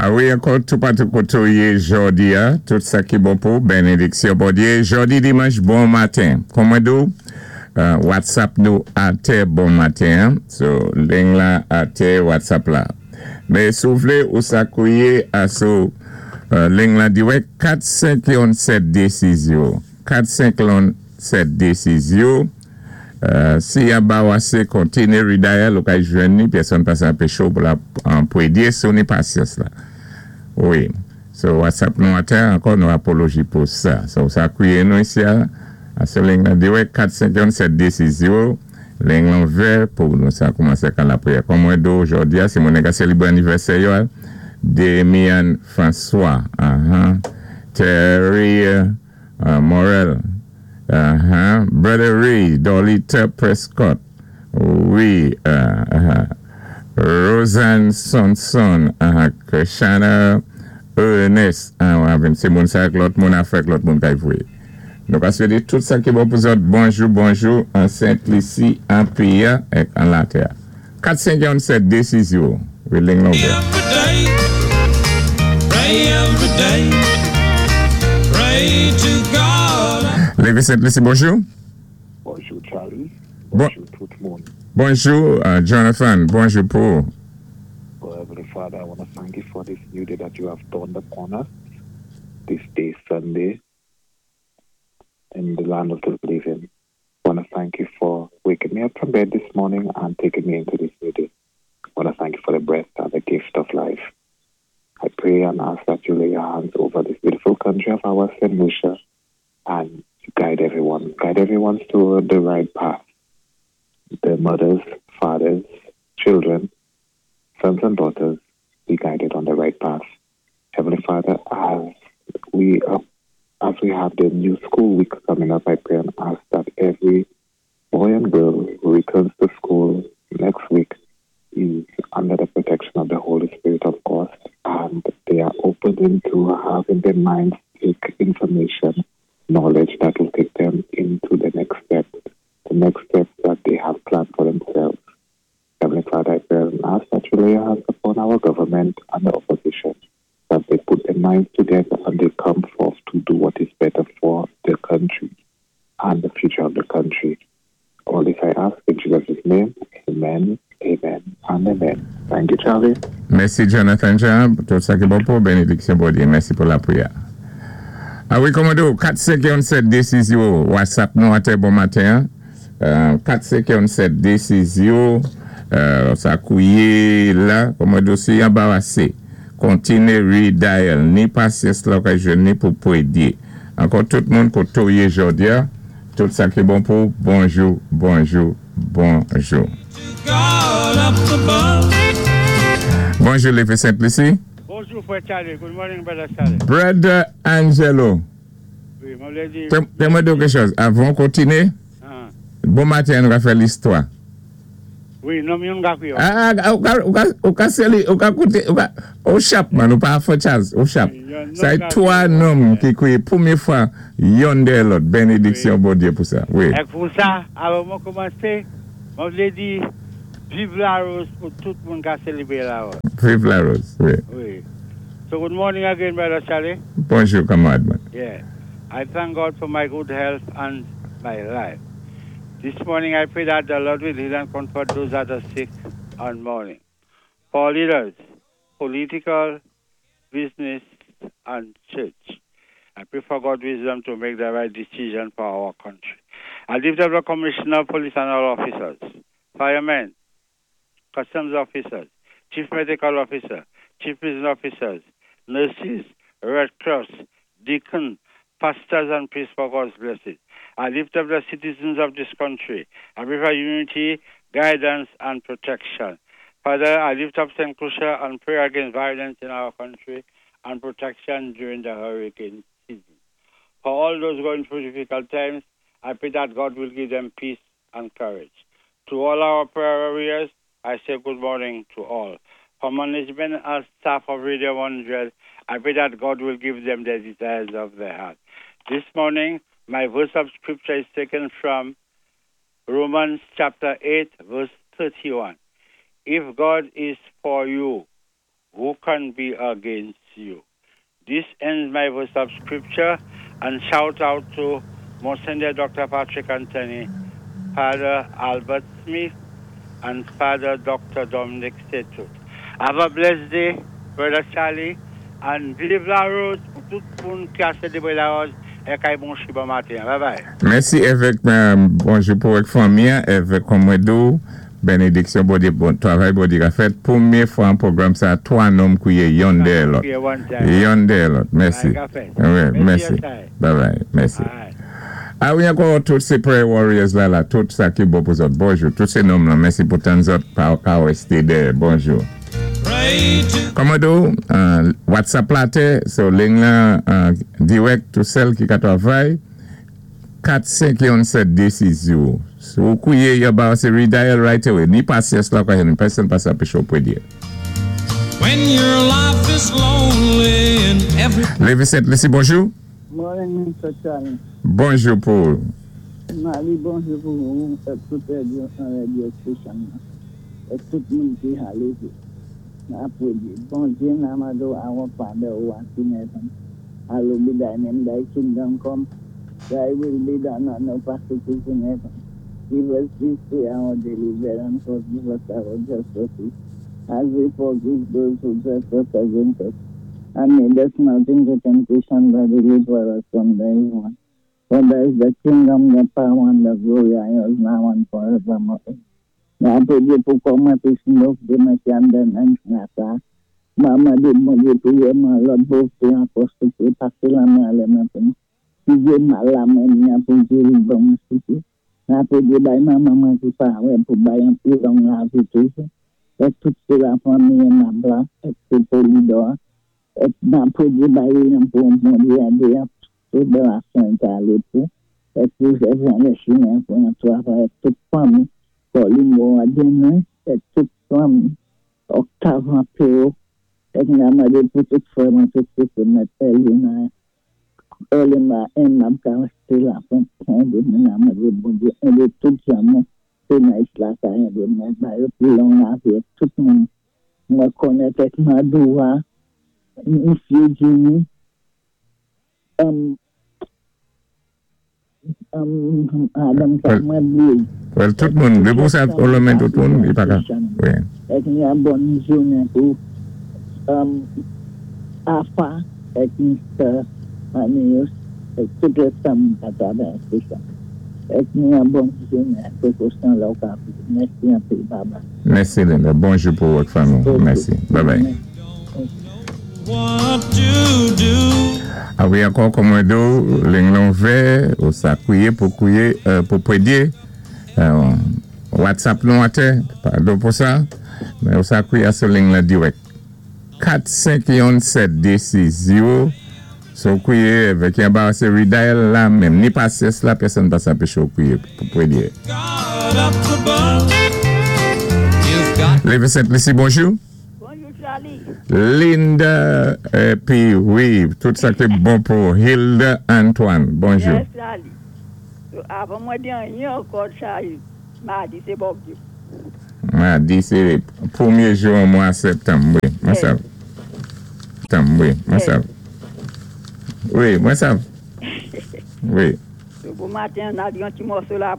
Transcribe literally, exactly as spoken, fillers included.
A wi, ankò toupatou koté ou yé jòdi-a, tout sa ki bon pou bénédiksyon Bondyé. Jòdi dimanch, bon maten. Kon mwen di ou, euh, WhatsApp nou atè bon maten. So, ling la atè WhatsApp la. Men si ou vlé ou sa kwié a sou euh, ling la diwèk kat senk youn sèt dé sis zewo. kat senk youn sèt dé sis zewo. Euh, si y ba ou asé, kontiné redial, ou ka jwenn ni, pèsonn pa sa anpéché ou pou la an pwédyé si ou ni pasyans la. Wi. So WhatsApp nou atè, ankò nou apoloji pou sa. So sa kwié nou isi a, a sou ling la diwèk kat senk youn sèt dé sis zewo, ling lan ouvè pou nou sa koumansé kan lapriyè. Kon mwen di ou jòdi a, si moun ka sélébré anivèsè yo, Demian François, uh-huh. Terry uh, Morel, uh-huh. Brother Ray, Dolita Prescott, wi, uh, uh-huh. Roseanne Sonson, uh-huh. Krishana Ernest, uh, sé moun sa ak lòt moun afèk lòt moun kay vwé. Nou ka swété tout sa ki bon pou zòt, bonjou, bonjou, an Sent-Lisi, an péyi èk an latè. kat senk youn sèt dé sis zewo, wi, ling lan ouvè. Every day, pray every day, pray to God. Lévi Sent-Lisi, bonjou. Bonjou Charlie, Bon- bonjou tout moun. Bonjou, uh, Jonathan, bonjou pou. Oh, Heavenly Father, I want to thank you for this new day that you have dawned upon us, this day, Sunday, in the land of the living. I want to thank you for waking me up from bed this morning and taking me into this new day. I want to thank you for the breath and the gift of life. I pray and ask that you lay your hands over this beautiful country of ours, Saint Lucia, and guide everyone, guide everyone to the right path. The mothers, fathers, children, sons and daughters be guided on the right path. Heavenly Father, as we uh, as we have the new school week coming up, I pray and ask that every boy and girl who returns to school next week is under the protection of the Holy Spirit of God, and they are open into having their minds take information, knowledge that will take them into the next step, the next step that they have planned for themselves. Heavenly Father, I pray and ask that you lay your hands upon our government and the opposition, that they put their minds together and they come forth to do what is better for the country and the future of the country. All this I ask in Jesus' name. Amen, amen, and amen. Thank you, Charlie. Mèsi Jonathan Jean, tout sa ki bon pou bénédiksyon Bondyé. Mèsi pou lapriyè. A wi, kòmando, kat senk youn sèt dé sis zewo, WhatsApp nou atè bon maten. Euh, kat senk youn sèt dé sis zewo, euh, sa kwié la, kòmando, si anbarasé, kontiné redial, ni pasyans la ka jwenn ni pou pwédyé. Ankò tout moun koté ou yé jòdi-a, tout sa ki bon pou, bonjou, bonjou, bonjou. God up above. Bonjou, Lévi Sent-Lisi. Bonjou, frè Charlie. Good morning, brother Charlie. Brother Angelo. Wi, mwen vlé di. Tè mwen di kèk chòz. Avan kontiné, Ah. bon maten, nou va fè listwa. Wi, non, yon ka kwié. Ah, ah, ou ka, ou ka, ou ka séli, ou ka kouté, ou ka, ou chap man, ou pa fò Charles, ou chap. Sa é twa nonm ki kwié pwémyé fwa, youn dèyè lòt, bénédiksyon Bondyé pou sa. Wi. É pou sa, avan mwen koumansé, mwen vlé di, viv Larose pou tout moun ka sélébré Larose. Viv Larose, wi. Wi. So good morning again, brother Charlie. Bonjou, kanmarad man. Yeah. I thank God for my good health and my life. This morning I pray that the Lord will heal and comfort those that are sick and mourning. For leaders, political, business, and church. I pray for God's wisdom to make the right decision for our country. I lift up the commissioner of police and all officers, firemen, customs officers, chief medical officer, chief prison officers, nurses, Red Cross, deacon, pastors and priests for God's blessing. I lift up the citizens of this country. I pray for unity, guidance, and protection. Father, I lift up Saint Lucia and pray against violence in our country and protection during the hurricane season. For all those going through difficult times, I pray that God will give them peace and courage. To all our prayer warriors, I say good morning to all. For management and staff of Radio one hundred, I pray that God will give them the desires of their heart. This morning, my verse of scripture is taken from Romans chapter eight, verse thirty-one. If God is for you, who can be against you? This ends my verse of scripture and shout out to Monsignor Doctor Patrick Anthony, Father Albert Smith, and Father Doctor Dominic Setou. Have a blessed day, Brother Charlie, and viv Larose pou tout moun ki a sélébwé Larose é kay bon bon maten. Bye bye. Mèsi, évèk. Bonjou pou avèk fanmi, évèk Komwedou. Bénédiksyon, bon, bon travay, bon a fèt. Pwémyé fwa an pwogram sa, twa nonm kwiyé yonn dèyè lòt. Yonn dèyè lòt. Mèsi. Wi, mèsi. Bye bye. Mèsi. A wi, ankò tout sé prayer warriors la la, tout sa ki bon pou zòt. Bonjou. Tout sé nonm la. Mèsi pou tann zòt pa ka wésté dèyè. Bonjou. Komwedou, uh, WhatsApp la té, so ling la uh, direct tout sèl ki ka travay, kat senk yon sèt de sis zewo. So, kwiyé, yo ba sé redial right away. Ni pasyans la kwa ni pèsonn pa sa anpéché ou pwédyé. When your life is lonely and every Lévi Sent Lisi, bonjou. Morning, Mister Charlie. Bonjou pou. Mali, bonjou pou ou, é tout radyo, radio station, é tout moun ki alé. Apwédyé. Bondyé, n ap mandé our Father who art in heaven. Hallowed be thy name, thy kingdom come. Thy will be done on earth as it is in heaven. Give us this day our daily bread and forgive us our trespasses, as we forgive those who trespass against us. And lead us not into temptation, but deliver us from the evil one. For thine is the kingdom, the power, and the glory, and yours now and forevermore. N apwédyé pou kòman pi nòf de mwen ki andan nan sa. Maman di Bondye pwiyé mwen lòt bò ankò souplé pasé lamen alé mwen pou mwen. Si jé mal la mwen mwen pou géri bon mwen souplé. N apwédyé bay manman mwen ki pa wè pou bay an pi long lavi toujou. É tout sé la fanmi Mabla, é tout Polidor. É n apwédyé bay yon pou Bondye adé tout de la sante alé pou. É pou jè le chimen pou yon travay tout fanmi. Pauline Boadene, é tout fanmi. Octave Pero, é n ap mandé pou tout frè mwen, tout sè mwen, Elina, Elima, M ka wésté la pou de mwen ap mandé Bondye, édé tout zanmi, sé nan la ka édé mwen, ba yo pi long lavi, tout moun mwen konnèt ak Madoua, Monsieur Jimmy, um, um, Adam mwen blié. Well, tout moun, lé pou sa, ou lonmen tout moun, i pa ka. Wi. É yon bòn jounen pou um, Afa ek Mister Manius ek tout lè fanmi a travè sa. Ek yon bòn jounen pou Kostan Loka. Mèsi anpil, bye bye. Mèsi Linda. Bonjou pou vòt fanmi. Mèsi. Bye bye. What to do. A wi, ankò Komwedou, ling lan ouvè, ou sa kwiyé pou kwiyé, euh, pou pwédyé. Euh, WhatsApp nou atè, padon pou sa, men ou sa kwiyé sou ling la direct. kat senk yon sèt de sis zewo, so kwiyé, avèk yon ba sé redial la menm, ni pasyans la, pèsonn pa sa anpéché ou kwiyé pou pwédyé. God up above. You've got Lévi Sent Lisi, bonjou. Bonjou, Charlie. Linda, épi wi, tout sa ki bon pou Hilda Antoine. Bonjou. Yes, Charlie. Avan mwen di anyen ankò, Charlie, madi sé bon Dye. Madi, sé pwémyé jou an mwa septanm, wi, mwen Yes. sav. Septanm, wi, mwen sav. Wi, mwen sav. Wi. Bon maten, an a di yon ti mòso la